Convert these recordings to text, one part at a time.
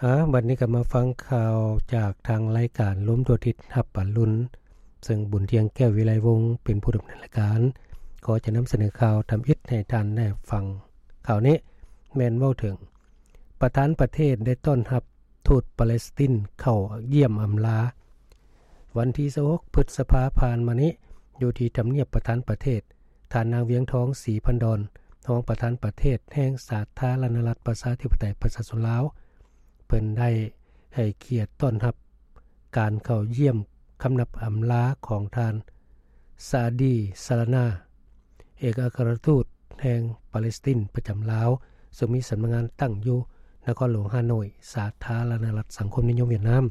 ອາ ບັດນີ້ກໍມາຟັງຂ່າວຈາກທາງລາຍການລົມທົ່ວທິດຮັບປາລຸນ ເຊິ່ງບຸນທຽງ ແກ້ວວິໄລວົງ ເປັນຜູ້ດຳເນີນລາຍການ. ກໍຈະນຳສະເໜີຂ່າວທຳອິດໃຫ້ທ່ານໄດ້ຟັງ. ຂ່າວນີ້ແມ່ນເວົ້າເຖິງ ປະທານປະເທດໄດ້ຕ້ອນຮັບທູດປາເລສຕິນເຂົ້າຢ້ຽມອຳລາ. ວັນທີຊາວຫົກ ພຶດສະພາຜ່ານມານີ້ ຢູ່ທີ່ທຳນຽບປະທານປະເທດ, ທ່ານນາງ ວຽງທອງ ສີພັນດອນ ຮອງປະທານປະເທດແຫ່ງສາທາລະນະລັດປະຊາທິປະໄຕປະຊາຊົນລາວ ເພິ່ນໄດ້ໃຫ້ກຽດຕ້ອນຮັບການເຂົ້າຢ້ຽມຄຳນັບອຳລາຂອງທ່ານ ຊາດີ ຊາລານາ ເອກອັກຄະລັດທູດແຫ່ງປາເລສຕິນປະຈຳລາວ ເຊິ່ງມີສຳນັກງານຕັ້ງຢູ່ນະຄອນຫຼວງຮ່າໂນ້ຍ ສາທາລະນະລັດສັງຄົມນິຍົມຫວຽດນາມ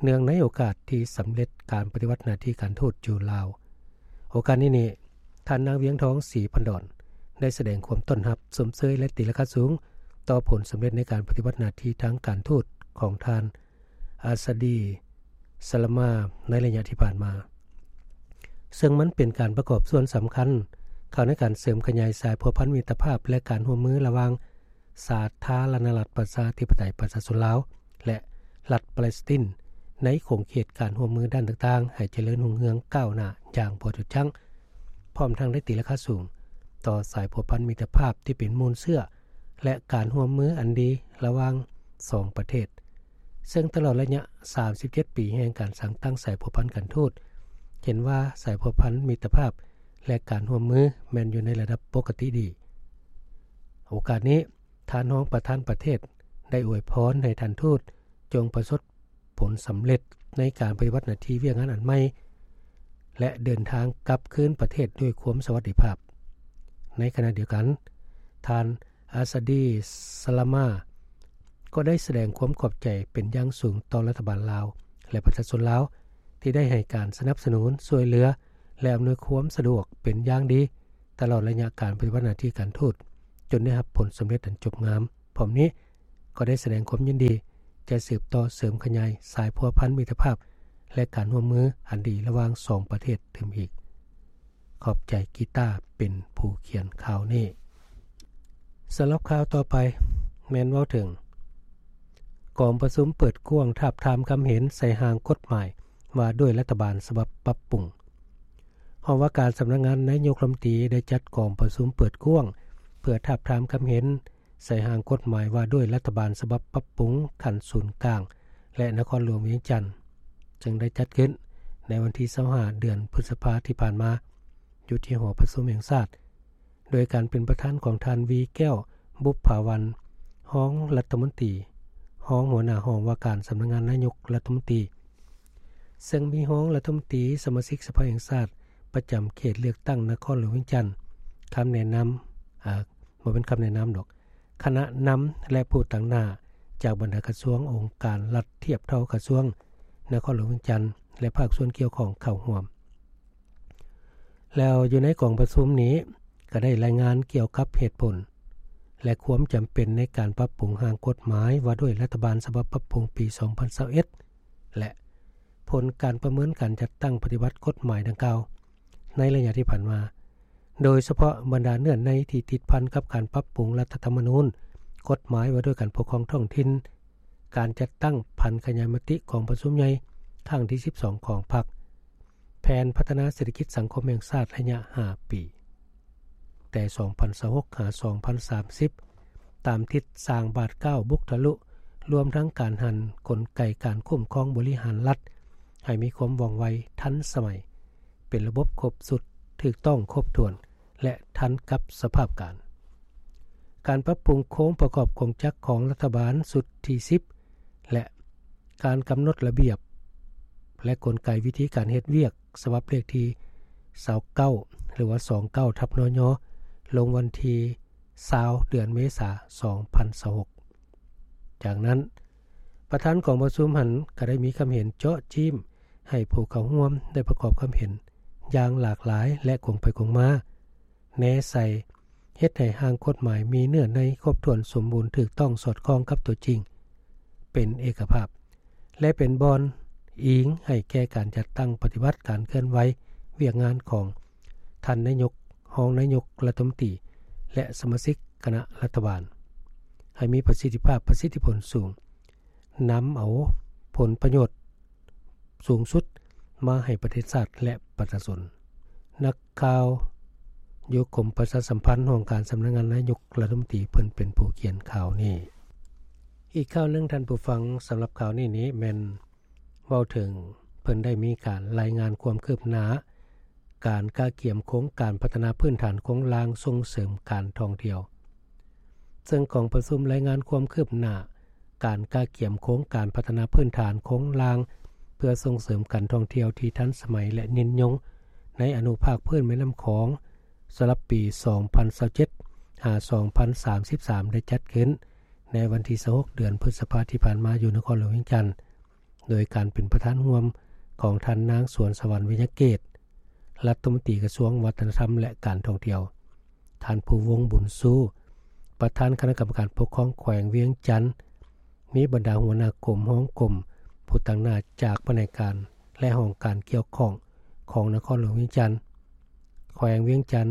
ເນື່ອງໃນໂອກາດທີ່ສຳເລັດການປະຕິບັດໜ້າທີ່ການທູດຢູ່ລາວ. ໂອກາດນີ້ນີ້ ທ່ານນາງ ວຽງທອງ ສີພັນດອນ ໄດ້ສະແດງຄວາມຕ້ອນຮັບ, ຊົມເຊີຍ ແລະ ຕີລາຄາສູງຕໍ່ຜົນສຳເລັດໃນການປະຕິບັດໜ້າທີ່ທາງການທູດຂອງທ່ານ ອາຊາດີ ຊາລາມາ ໃນໄລຍະທີ່ຜ່ານມາ, ເຊິ່ງມັນເປັນການປະກອບສ່ວນສຳຄັນເຂົ້າໃນການເສີມຂະຫຍາຍສາຍພົວພັນມິດຕະພາບ ແລະ ການຮ່ວມມືລະຫວ່າງ ສາທາລະນະລັດປະຊາທິປະໄຕປະຊາຊົນລາວ ແລະ ລັດປາເລສຕິນ ໃນຂົງເຂດການຮ່ວມມືດ້ານຕ່າງໆ ໃຫ້ຈະເລີນຮຸ່ງເຮືອງກ້າວໜ້າຢ່າງບໍ່ຢຸດຢັ້ງ, ພ້ອມທັງໄດ້ຕີລາຄາສູງຕໍ່ສາຍພົວພັນມິດຕະພາບທີ່ເປັນມູນເຊື້ອ ແລະ ການຮ່ວມມືອັນດີລະຫວ່າງສອງປະເທດ, ເຊິ່ງຕະຫຼອດໄລຍະສາມສິບເຈັດປີແຫ່ງການສ້າງຕັ້ງສາຍພົວພັນການທູດ, ເຫັນວ່າສາຍພົວພັນມິດຕະພາບ ແລະ ການຮ່ວມມືແມ່ນຢູ່ໃນລະດັບປົກກະຕິດີ. ໂອກາດນີ້ ທ່ານຮອງປະທານປະເທດໄດ້ອວຍພອນໃຫ້ທ່ານທູດຈົ່ງປະສົບຜົນສຳເລັດໃນການປະຕິບັດໜ້າທີ່ວຽກງານອັນໃໝ່ ແລະ ເດີນທາງກັບຄືນປະເທດດ້ວຍຄວາມສະຫວັດດີພາບ. ໃນຂະນະດຽວກັນ, ທ່ານ ອາຊາດີ ຊາລາມາ ກໍໄດ້ສະແດງຄວາມຂອບໃຈເປັນຢ່າງສູງຕໍ່ລັດຖະບານລາວ ແລະ ປະຊາຊົນລາວ ທີ່ໄດ້ໃຫ້ການສະໜັບສະໜູນ, ຊ່ວຍເຫຼືອ ແລະ ອຳນວຍຄວາມສະດວກເປັນຢ່າງດີ ຕະຫຼອດໄລຍະການປະຕິບັດໜ້າທີ່ການທູດ ຈົນໄດ້ຮັບຜົນສຳເລັດອັນຈົບງາມ. ພ້ອມນີ້ກໍໄດ້ສະແດງຄວາມຍິນດີຈະສືບຕໍ່ເສີມຂະຫຍາຍສາຍພົວພັນມິດຕະພາບ ແລະ ການຮ່ວມມືອັນດີລະຫວ່າງສອງປະເທດຕື່ມອີກ. ຂອບໃຈ ກີຕາ ເປັນຜູ້ຂຽນຂ່າວນີ້. ສຳລັບຂ່າວຕໍ່ໄປແມ່ນເວົ້າເຖິງ ກອງປະຊຸມເປີດກວ້າງທາບທາມຄຳເຫັນໃສ່ຮ່າງກົດໝາຍວ່າດ້ວຍລັດຖະບານສະບັບປັບປຸງ. ຫ້ອງວ່າການສຳນັກງານນາຍົກລັດຖະມົນຕີໄດ້ຈັດກອງປະຊຸມເປີດກວ້າງ ເພື່ອທາບທາມຄຳເຫັນໃສ່ຮ່າງກົດໝາຍວ່າດ້ວຍລັດຖະບານສະບັບປັບປຸງຂັ້ນສູນກາງ ແລະ ນະຄອນຫຼວງວຽງຈັນ, ເຊິ່ງໄດ້ຈັດຂຶ້ນໃນວັນທີຊາວຫ້າ ເດືອນພຶດສະພາທີ່ຜ່ານມາ ຢູ່ທີ່ຫໍປະຊຸມແຫ່ງຊາດ ໂດຍການເປັນປະທານຂອງທ່ານ ວີ ແກ້ວບຸບຜາວັນ ຮອງລັດຖະມົນຕີ, ຮອງຫົວໜ້າຫ້ອງວ່າການສຳນັກງານນາຍົກລັດຖະມົນຕີ, ເຊິ່ງມີຮອງລັດຖະມົນຕີ, ສະມາຊິກສະພາແຫ່ງຊາດປະຈຳເຂດເລືອກຕັ້ງນະຄອນຫຼວງວຽງຈັນ, ຄຳແນະນຳ, ອາ, ບໍ່ແມ່ນຄຳແນະນຳດອກ, ຄະນະນຳ ແລະ ຜູ້ຕາງໜ້າຈາກບັນດາກະຊວງ, ອົງການລັດທຽບເທົ່າກະຊວງນະຄອນຫຼວງວຽງຈັນ ແລະ ພາກສ່ວນກ່ຽວຂ້ອງເຂົ້າຮ່ວມ. ແລ້ວຢູ່ໃນກອງປະຊຸມນີ້ກໍໄດ້ລາຍງານກ່ຽວກັບເຫດຜົນ ແລະ ຄວາມຈຳເປັນໃນການປັບປຸງຮ່າງກົດໝາຍວ່າດ້ວຍລັດຖະບານສະບັບປັບປຸງປີສອງພັນຊາວເອັດ ແລະ ຜົນການປະເມີນການຈັດຕັ້ງປະຕິບັດກົດໝາຍດັ່ງກ່າວໃນໄລຍະທີ່ຜ່ານມາ, ໂດຍສະເພາະບັນດາເນື້ອໃນທີ່ຕິດພັນກັບການປັບປຸງລັດຖະທຳມະນູນ, ກົດໝາຍວ່າດ້ວຍການປົກຄອງທ້ອງຖິ່ນ, ການຈັດຕັ້ງຜັນຂະຫຍາຍມະຕິກອງປະຊຸມໃຫຍ່ຄັ້ງທີສິບສອງຂອງພັກ, ແຜນພັດທະນາເສດຖະກິດສັງຄົມແຫ່ງຊາດໄລຍະຫ້າປີ ແຕ່ສອງພັນຊາວຫົກ ຫາ ສອງພັນສາມສິບ ຕາມທິດສ້າງບາດກ້າວບຸກທະລຸ, ລວມທັງການຫັນກົນໄກການຄຸ້ມຄອງບໍລິຫານລັດໃຫ້ມີຄວາມວ່ອງໄວ, ທັນສະໄໝ, ເປັນລະບົບຄົບຊຸດ, ຖືກຕ້ອງຄົບຖ້ວນ ແລະ ທັນກັບສະພາບການ. ການປັບປຸງໂຄງປະກອບກົງຈັກຂອງລັດຖະບານຊຸດທີສິບ ແລະ ການກຳນົດລະບຽບ ແລະ ກົນໄກວິທີການເຮັດວຽກ ສະບັບເລກທີຊາວເກົ້າ ຫຼືວ່າ ສອງເກົ້າ ທັບ ນຍ ລົງວັນທີຊາວ ເດືອນເມສາ ສອງພັນຊາວຫົກ. ຈາກນັ້ນ, ປະທານກອງປະຊຸມຫັ້ນກໍໄດ້ມີຄຳເຫັນເຈາະຈີ້ມໃຫ້ຜູ້ເຂົ້າຮ່ວມໄດ້ປະກອບຄຳເຫັນຢ່າງຫຼາກຫຼາຍ ແລະ ກົງໄປກົງມາ ແນໃສ່ ເຮັດໃຫ້ຮ່າງກົດໝາຍມີເນື້ອໃນຄົບຖ້ວນສົມບູນ, ຖືກຕ້ອງ, ສອດຄ່ອງກັບຕົວຈິງ, ເປັນເອກະພາບ ແລະ ເປັນບ່ອນອີງໃຫ້ແກ່ການຈັດຕັ້ງປະຕິບັດການເຄື່ອນໄຫວວຽກງານຂອງທ່ານນາຍົກ, ຮອງນາຍົກລັດຖະມົນຕີ ແລະ ສະມາຊິກຄະນະລັດຖະບານ ໃຫ້ມີປະສິດທິພາບ, ປະສິດທິຜົນສູງ ນຳເອົາຜົນປະໂຫຍດສູງສຸດມາໃຫ້ປະເທດຊາດ ແລະ ປະຊາຊົນ. ນັກຂ່າວຢູ່ກົມປະຊາສຳພັນ ຫ້ອງການສຳນັກງານນາຍົກລັດຖະມົນຕີ ເພິ່ນເປັນຜູ້ຂຽນຂ່າວນີ້. ອີກຂ່າວໜຶ່ງທ່ານຜູ້ຟັງ, ສຳລັບຂ່າວນີ້ນີ້ແມ່ນເວົ້າເຖິງ ເພິ່ນໄດ້ມີການລາຍງານຄວາມຄືບໜ້າ ການກະກຽມໂຄງການພັດທະນາພື້ນຖານໂຄງລ່າງສົ່ງເສີມການທ່ອງທ່ຽວ. ເຊິ່ງກອງປະຊຸມລາຍງານຄວາມຄືບໜ້າການກະກຽມໂຄງການພັດທະນາພື້ນຖານໂຄງລ່າງ ເພື່ອສົ່ງເສີມການທ່ອງທ່ຽວທີ່ທັນສະໄໝ ແລະ ຍືນຍົງໃນອະນຸພາກພື້ນແມ່ນ້ຳຂອງ ສຳລັບປີສອງພັນຊາວເຈັດ ຫາ ສອງພັນສາມສິບສາມ ໄດ້ຈັດຂຶ້ນໃນວັນທີຊາວຫົກ ເດືອນພຶດສະພາທີ່ຜ່ານມາ ຢູ່ນະຄອນຫຼວງວຽງຈັນ. ໂດຍການເປັນປະທານຮ່ວມຂອງທ່ານນາງ ສວນສະຫວັນ ວິຍະເກດ ລັດຖະມົນຕີກະຊວງວັດທະນະທຳ ແລະ ການທ່ອງທ່ຽວ, ທ່ານ ພູວົງ ບຸນຊູ ປະທານຄະນະກຳມະການປົກຄອງແຂວງວຽງຈັນ, ມີບັນດາຫົວໜ້າກົມ, ຮອງກົມ, ຜູ້ຕາງໜ້າຈາກພະແນກການ ແລະ ຫ້ອງການກ່ຽວຂ້ອງຂອງນະຄອນຫຼວງວຽງຈັນ, ແຂວງວຽງຈັນ,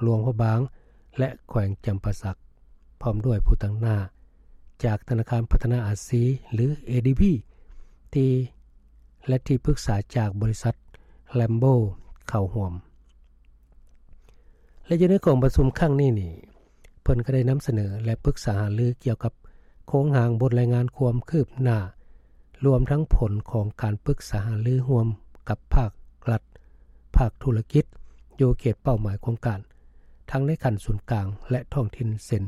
ຫຼວງພະບາງ ແລະ ແຂວງຈຳປາສັກ, ພ້ອມດ້ວຍຜູ້ຕາງໜ້າຈາກທະນາຄານພັດທະນາອາຊີ ຫຼື ເອດີບີ ທີ່ ແລະ ທີ່ປຶກສາຈາກບໍລິສັດ Lambo ເຂົ້າຮ່ວມ. ແລະ ຢູ່ໃນກອງປະຊຸມຄັ້ງນີ້ນີ້ ເພິ່ນກໍໄດ້ນຳສະເໜີ ແລະ ປຶກສາຫາລືກ່ຽວກັບໂຄງຮ່າງບົດລາຍງານຄວາມຄືບໜ້າ ລວມທັງຜົນຂອງການປຶກສາຫາລືຮ່ວມກັບພາກລັດ, ພາກທຸລະກິດ ຢູ່ເຂດເປົ້າໝາຍໂຄງການ ທັງໃນຂັ້ນສູນກາງ ແລະ ທ້ອງຖິ່ນ ເຊັ່ນ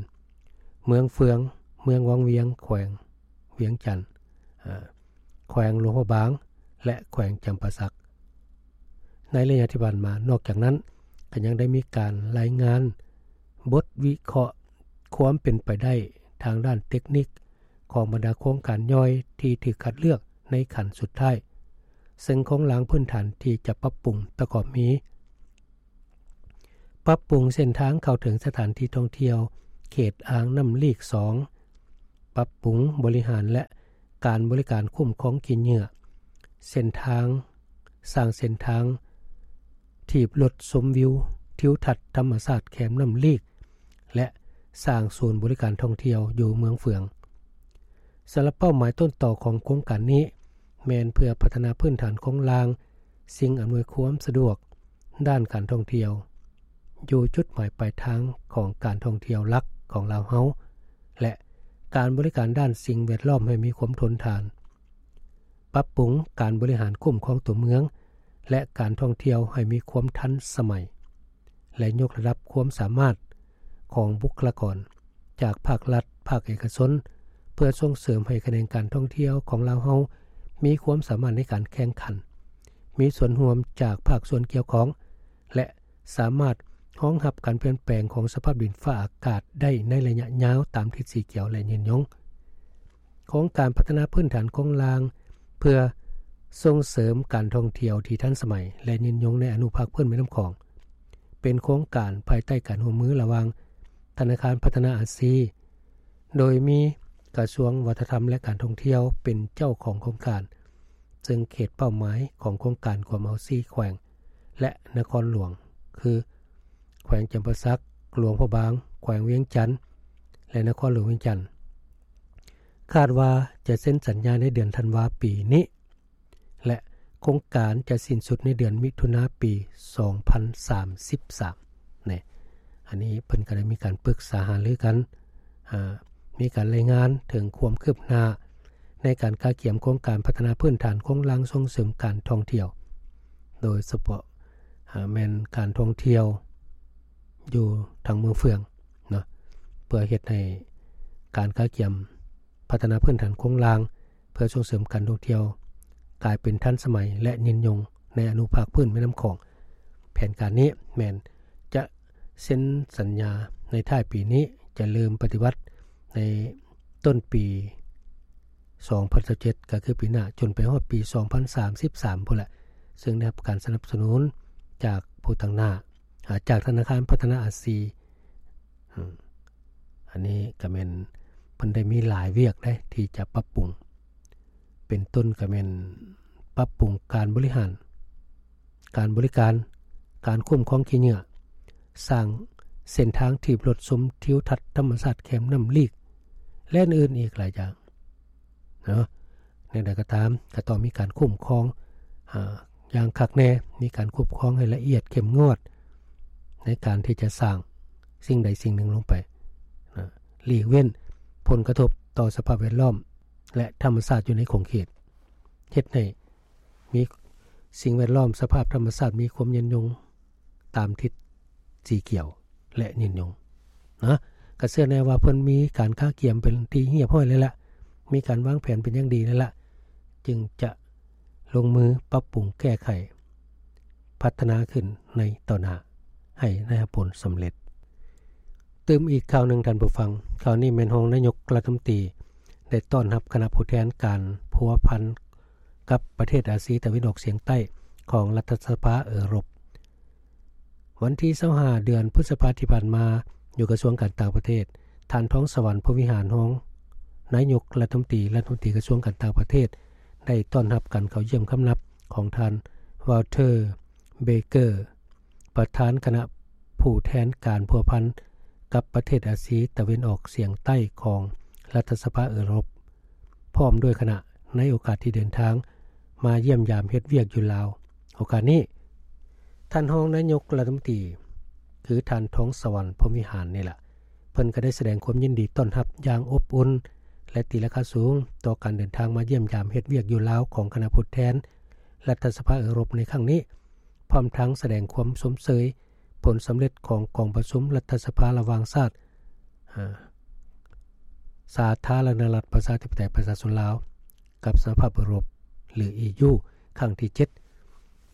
ເມືອງເຟືອງ, ເມືອງວັງວຽງ, ແຂວງວຽງຈັນ, ເອີ່ ແຂວງຫຼວງພະບາງ ແລະ ແຂວງຈຳປາສັກ. ໃນໄລຍະທີ່ຜ່ານມາ, ນອກຈາກນັ້ນ ກໍຍັງໄດ້ມີການລາຍງານບົດວິເຄາະຄວາມເປັນໄປໄດ້ທາງດ້ານເຕັກນິກຂອງບັນດາໂຄງການຍ່ອຍທີ່ຖືກຄັດເລືອກໃນຂັ້ນສຸດທ້າຍ, ເຊິ່ງໂຄງລ່າງພື້ນຖານທີ່ຈະປັບປຸງປະກອບມີ ປັບປຸງເສັ້ນທາງເຂົ້າເຖິງສະຖານທີ່ທ່ອງທ່ຽວເຂດອ່າງນ້ຳລີກສອງ, ປັບປຸງບໍລິຫານ ແລະ ການບໍລິການຄຸ້ມຄອງຂີ້ເຫຍື້ອ, ເສັ້ນທາງ, ສ້າງເສັ້ນທາງຖີບລົດຊົມວິວທິວທັດທຳມະຊາດແຄມນ້ຳລີກ ແລະ ສ້າງສູນບໍລິການທ່ອງທ່ຽວຢູ່ເມືອງເຟືອງ. ສຳລັບເປົ້າໝາຍຕົ້ນຕໍຂອງໂຄງການນີ້ ແມ່ນເພື່ອພັດທະນາພື້ນຖານໂຄງລ່າງ, ສິ່ງອຳນວຍຄວາມສະດວກດ້ານການທ່ອງທ່ຽວ ຢູ່ຈຸດໝາຍປາຍທາງຂອງການທ່ອງທ່ຽວຫຼັກຂອງລາວເຮົາ ແລະ ການບໍລິການດ້ານສິ່ງແວດລ້ອມໃຫ້ມີຄວາມທົນທານ, ປັບປຸງການບໍລິຫານຄຸ້ມຄອງຕົວເມືອງ ແລະ ການທ່ອງທ່ຽວໃຫ້ມີຄວາມທັນສະໄໝ ແລະ ຍົກລະດັບຄວາມສາມາດຂອງບຸກຄະລາກອນຈາກພາກລັດ, ພາກເອກະຊົນ ເພື່ອສົ່ງເສີມໃຫ້ຂະແໜງການທ່ອງທ່ຽວຂອງລາວເຮົາມີຄວາມສາມາດໃນການແຂ່ງຂັນ, ມີສ່ວນຮ່ວມຈາກພາກສ່ວນກ່ຽວຂ້ອງ ແລະ ສາມາດຮອງຮັບການປ່ຽນແປງຂອງສະພາບດິນຟ້າອາກາດໄດ້ໃນໄລຍະຍາວຕາມທິດສີຂຽວ ແລະ ຍືນຍົງ. ໂຄງການພັດທະນາພື້ນຖານໂຄງລ່າງ ເພື່ອສົ່ງເສີມການທ່ອງທ່ຽວທີ່ທັນສະໄໝ ແລະ ຍືນຍົງໃນອະນຸພາກພື້ນແມ່ນ້ຳຂອງ ເປັນໂຄງການພາຍໃຕ້ການຮ່ວມມືລະຫວ່າງທະນາຄານພັດທະນາອາຊີ ໂດຍມີກະຊວງວັດທະນະທຳ ແລະ ການທ່ອງທ່ຽວເປັນເຈົ້າຂອງໂຄງການ, ເຊິ່ງເຂດເປົ້າໝາຍຂອງໂຄງການກວມເອົາສີ່ແຂວງ ແລະ ນະຄອນຫຼວງ ຄື ແຂວງຈຳປາສັກ, ຫຼວງພະບາງ, ແຂວງວຽງຈັນ ແລະ ນະຄອນຫຼວງວຽງຈັນ. ຄາດວ່າຈະເຊັນສັນຍາໃນເດືອນທັນວາປີນີ້ ແລະ ໂຄງການຈະສິ້ນສຸດໃນເດືອນມິຖຸນາປີສອງພັນສາມສິບສາມ ນີ້. ອັນນີ້ເພິ່ນກໍໄດ້ມີການປຶກສາຫາລືກັນ, ອາ, ມີການລາຍງານເຖິງຄວາມຄືບໜ້າໃນການກະກຽມໂຄງການພັດທະນາພື້ນຖານໂຄງລ່າງສົ່ງເສີມການທ່ອງທ່ຽວ, ໂດຍສະເພາະ ອາ, ແມ່ນການທ່ອງທ່ຽວຢູ່ທາງເມືອງເຟືອງເນາະ, ເພື່ອເຮັດໃຫ້ການກະກຽມ ພັດທະນາພື້ນຖານໂຄງລ່າງເພື່ອສົ່ງເສີມການທ່ອງທ່ຽວກາຍເປັນທັນສະໄໝ ແລະ ຍືນຍົງໃນອະນຸພາກພື້ນແມ່ນ້ຳຂອງ. ແຜນການນີ້ແມ່ນຈະເຊັນສັນຍາໃນທ້າຍປີນີ້, ຈະເລີ່ມປະຕິບັດໃນຕົ້ນປີສອງພັນຊາວເຈັດ ກໍຄືປີໜ້າ, ຈົນໄປຮອດປີສອງພັນສາມສິບສາມພຸ້ນແຫຼະ, ເຊິ່ງໄດ້ຮັບການສະໜັບສະໜູນຈາກຜູ້ຕາງໜ້າ, ອາ, ຈາກທະນາຄານພັດທະນາອາຊີ. ອາ, ອັນນີ້ກໍແມ່ນເພິ່ນໄດ້ມີຫຼາຍວຽກເດ້ທີ່ຈະປັບປຸງ, ເປັນຕົ້ນກໍແມ່ນປັບປຸງການບໍລິຫານ, ການບໍລິການ, ການຄຸ້ມຄອງຂີ້ເຫຍື້ອ, ສ້າງເສັ້ນທາງຖີບລົດຊົມທິວທັດທຳມະຊາດແຄມນ້ຳລີກ ແລະ ອື່ນໆອີກຫຼາຍຢ່າງ. ເນາະ. ແນວໃດກໍຕາມ ກໍຕ້ອງມີການຄຸ້ມຄອງ ອາ ຢ່າງຄັກແນ່, ມີການຄຸ້ມຄອງໃຫ້ລະອຽດເຂັ້ມງວດ ໃນການທີ່ຈະສ້າງສິ່ງໃດສິ່ງໜຶ່ງລົງໄປນະ, ຫຼີກເວັ້ນຜົນກະທົບຕໍ່ສະພາບແວດລ້ອມ ແລະ ທຳມະຊາດຢູ່ໃນຂົງເຂດ, ເຮັດໃຫ້ມີສິ່ງແວດລ້ອມ ສະພາບທຳມະຊາດມີຄວາມຍືນຍົງຕາມທິດສີຂຽວ ແລະ ຍືນຍົງນະ. ກໍເຊື່ອແນ່ວ່າເພິ່ນມີການກະກຽມເປັນທີ່ຮຽບຮ້ອຍແລ້ວລະ, ມີການວາງແຜນເປັນຢ່າງດີແລ້ວລະ, ຈຶ່ງຈະລົງມືປັບປຸງແກ້ໄຂ ພັດທະນາຂຶ້ນໃນຕໍ່ໜ້າໃຫ້ໄດ້ຮັບຜົນສຳເລັດ. ຕື່ມອີກຂ່າວໜຶ່ງທ່ານຜູ້ຟັງ, ຂ່າວນີ້ແມ່ນຮອງນາຍົກລັດຖະມົນຕີໄດ້ຕ້ອນຮັບຄະນະຜູ້ແທນການພົວພັນກັບປະເທດອາຊີຕາເວັນອອກສຽງໃຕ້ຂອງລັດຖະສະພາເອີຣົບ. ວັນທີຊາວຫ້າ ເດືອນພຶດສະພາທີ່ຜ່ານມາ, ຢູ່ກະຊວງການຕ່າງປະເທດ, ທ່ານ ທອງສະຫວັນ ພົມວິຫານ ຮອງນາຍົກລັດຖະມົນຕີ ລັດຖະມົນຕີກະຊວງການຕ່າງປະເທດ ໄດ້ຕ້ອນຮັບການເຂົ້າຢ້ຽມຄຳນັບຂອງທ່ານ ວອລເທີ ເບເກີ ປະທານຄະນະຜູ້ແທນການພົວພັນກັບປະເທດອາຊີຕາເວັນອອກສຽງໃຕ້ຂອງລັດຖະສະພາເອີຣົບ ພ້ອມດ້ວຍຄະນະ ໃນໂອກາດທີ່ເດີນທາງມາຢ້ຽມຢາມເຮັດວຽກຢູ່ລາວ. ໂອກາດນີ້ ທ່ານຮອງນາຍົກລັດຖະມົນຕີ ຄືທ່ານ ທອງສະຫວັນ ພົມວິຫານ ນີ້ລະ ເພິ່ນກໍໄດ້ສະແດງຄວາມຍິນດີຕ້ອນຮັບຢ່າງອົບອຸ່ນ ແລະ ຕີລາຄາສູງຕໍ່ການເດີນທາງມາຢ້ຽມຢາມເຮັດວຽກຢູ່ລາວຂອງຄະນະຜູ້ແທນລັດຖະສະພາເອີຣົບໃນຄັ້ງນີ້, ພ້ອມທັງສະແດງຄວາມຊົມເຊີຍຜົນສຳເລັດຂອງກອງປະຊຸມລັດຖະສະພາລະຫວ່າງຊາດ ອາ ສາທາລະນະລັດປະຊາທິປະໄຕປະຊາຊົນລາວ ກັບສະຫະພາບເອີຣົບ ຫຼື ອີຢູ ຄັ້ງທີເຈັດ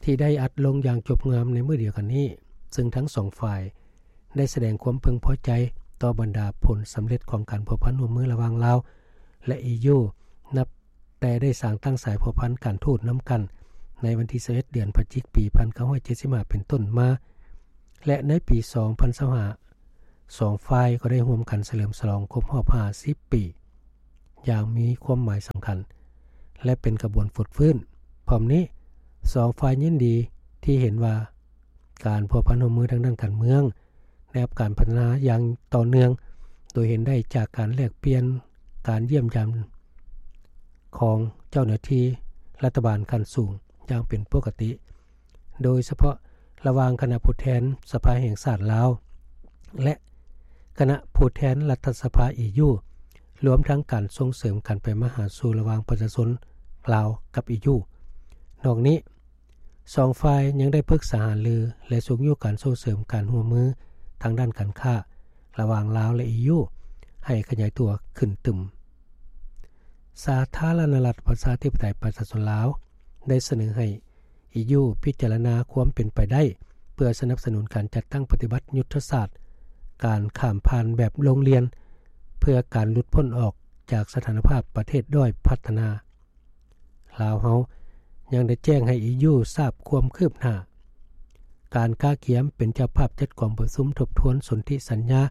ທີ່ໄດ້ອັດລົງຢ່າງຈົບງາມໃນມື້ດຽວກັນນີ້, ເຊິ່ງທັງສອງຝ່າຍໄດ້ສະແດງຄວາມເພິ່ງພໍໃຈຕໍ່ບັນດາຜົນສຳເລັດຂອງການພົວພັນຮ່ວມມືລະຫວ່າງລາວ ແລະ ອີຢູ ນັບແຕ່ໄດ້ສ້າງຕັ້ງສາຍພົວພັນການທູດນຳກັນໃນວັນທີຊາວເອັດ ເດືອນພະຈິກ ປີພັນເກົ້າຮ້ອຍເຈັດສິບຫ້າ ເປັນຕົ້ນມາ ແລະ ໃນປີສອງພັນຊາວຫ້າ ສອງຝ່າຍກໍໄດ້ຮ່ວມກັນສະເຫຼີມສະຫຼອງຄົບຮອບຫ້າສິບປີ ຢ່າງມີຄວາມໝາຍສຳຄັນ ແລະ ເປັນຂະບວນຟົດຟື້ນ. ພ້ອມນີ້ ສອງຝ່າຍຍິນດີທີ່ເຫັນວ່າການພົວພັນຮ່ວມມືທາງດ້ານການເມືອງໄດ້ຮັບການພັດທະນາຢ່າງຕໍ່ເນື່ອງ, ໂດຍເຫັນໄດ້ຈາກການແລກປ່ຽນ, ການຢ້ຽມຢາມຂອງເຈົ້າໜ້າທີ່ລັດຖະບານຂັ້ນສູງຢ່າງເປັນປົກກະຕິ. ໂດຍສະເພາະລະຫວ່າງຄະນະຜູ້ແທນສະພາແຫ່ງຊາດລາວ ແລະ ຄະນະຜູ້ແທນລັດຖະສະພາອີຢູ, ລວມທັງການສົ່ງເສີມການໄປມາຫາສູ່ລະຫວ່າງປະຊາຊົນລາວກັບອີຢູ. ນອກນີ້, ສອງຝ່າຍຍັງໄດ້ປຶກສາຫາລື ແລະ ຊຸກຍູ້ການສົ່ງເສີມການຮ່ວມມືທາງດ້ານການຄ້າລະຫວ່າງລາວ ແລະ ອີຢູ ໃຫ້ຂະຫຍາຍຕົວຂຶ້ນຕື່ມ. ສາທາລະນະລັດປະຊາທິປະໄຕປະຊາຊົນລາວ ໄດ້ສະເໜີໃຫ້ ອີຢູ ພິຈາລະນາຄວາມເປັນໄປໄດ້ ເພື່ອສະໜັບສະໜູນການຈັດຕັ້ງປະຕິບັດຍຸດທະສາດການຂ້າມຜ່ານແບບໂລງລຽນ ເພື່ອການຫຼຸດພົ້ນອອກຈາກສະຖານະພາບປະເທດດ້ອຍພັດທະນາ. ລາວເຮົາຍັງໄດ້ແຈ້ງໃຫ້ ອີຢູ ຊາບຄວາມຄືບໜ້າການກະກຽມເປັນເຈົ້າພາບຈັດກອງປະຊຸມທົບທວນສົນທິສັນຍາ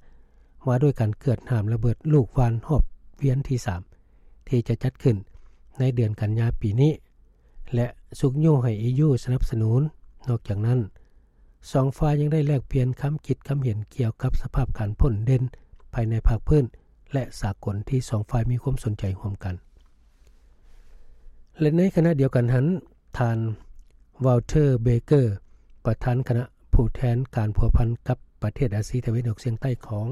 ວ່າດ້ວຍການເກືອດຫ້າມລະເບີດລູກຫວ່ານຮອບວຽນທີສາມ ທີ່ຈະຈັດຂຶ້ນໃນເດືອນກັນຍາປີນີ້ ແລະ ຊຸກຍູ້ໃຫ້ ອີຢູ ສະໜັບສະໜູນ. ນອກຈາກນັ້ນ, ສອງຝ່າຍຍັງໄດ້ແລກປ່ຽນຄຳຄິດຄຳເຫັນກ່ຽວກັບສະພາບການພົ້ນເດັ່ນພາຍໃນພາກພື້ນ ແລະ ສາກົນທີ່ສອງຝ່າຍມີຄວາມສົນໃຈຮ່ວມກັນ. ແລະ ໃນຂະນະດຽວກັນຫັ້ນ, ທ່ານ ວອລເທີ ເບເກີ ປະທານຄະນະຜູ້ແທນການພົວພັນກັບປະເທດອາຊີຕາເວັນອອກສຽງໃຕ້ຂອງ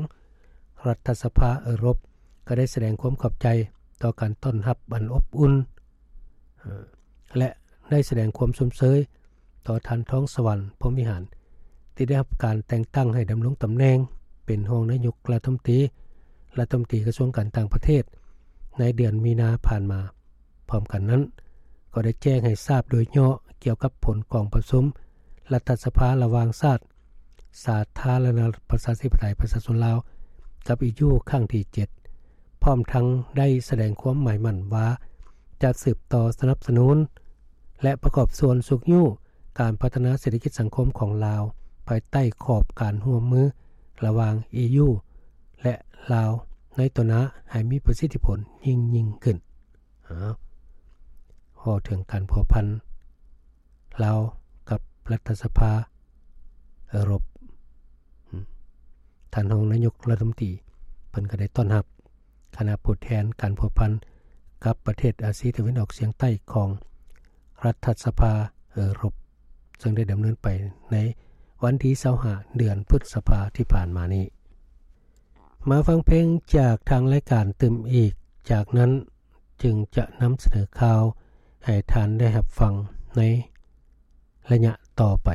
ລັດຖະສະພາເອີຣົບ ກໍໄດ້ສະແດງຄວາມຂອບໃຈຕໍ່ການຕ້ອນຮັບອັນອົບອຸ່ນ ເອີ ແລະ ໄດ້ສະແດງຄວາມຊົມເຊີຍຕໍ່ທ່ານ ທອງສະຫວັນ ພົມວິຫານ ທີ່ໄດ້ຮັບການແຕ່ງຕັ້ງໃຫ້ດຳລົງຕຳແໜ່ງເປັນຮອງນາຍົກລັດຖະມົນຕີ, ລັດຖະມົນຕີກະຊວງການຕ່າງປະເທດ ໃນເດືອນມີນາຜ່ານມາ. ພ້ອມກັນນັ້ນ, ກໍໄດ້ແຈ້ງໃຫ້ຊາບໂດຍຫຍໍ້ກ່ຽວກັບຜົນກອງປະຊຸມລັດຖະສະພາລະຫວ່າງຊາດ ສາທາລະນະລັດປະຊາທິປະໄຕປະຊາຊົນລາວ ກັບ ອີຢູ ຄັ້ງທີເຈັດ ພ້ອມທັງໄດ້ສະແດງຄວາມໝາຍໝັ້ນວ່າ ຈະສືບຕໍ່ສະໜັບສະໜູນ ແລະ ປະກອບສ່ວນຊຸກຍູ້ການພັດທະນາເສດຖະກິດສັງຄົມຂອງລາວ ພາຍໃຕ້ຂອບການຮ່ວມມືລະຫວ່າງ ອີຢູ ແລະ ລາວ ໃນຕໍ່ໜ້າໃຫ້ມີປະສິດທິຜົນຍິ່ງໆຂຶ້ນ. ເວົ້າເຖິງການພົວພັນລາວກັບລັດຖະສະພາເອີຣົບ, ທ່ານຮອງນາຍົກລັດຖະມົນຕີ ເພິ່ນກໍໄດ້ຕ້ອນຮັບຄະນະຜູ້ແທນການພົວພັນ ກັບປະເທດອາຊີຕາເວັນອອກສຽງໃຕ້ຂອງລັດຖະສະພາເອີຣົບ ເຊິ່ງໄດ້ດຳເນີນໄປໃນວັນທີຊາວຫ້າ ເດືອນພຶດສະພາທີ່ຜ່ານມານີ້. ມາຟັງເພງຈາກທາງລາຍການຕື່ມອີກ, ຈາກນັ້ນຈຶ່ງຈະນຳສະເໜີຂ່າວໃຫ້ທ່ານໄດ້ຮັບຟັງໃນໄລຍະຕໍ່ໄປ.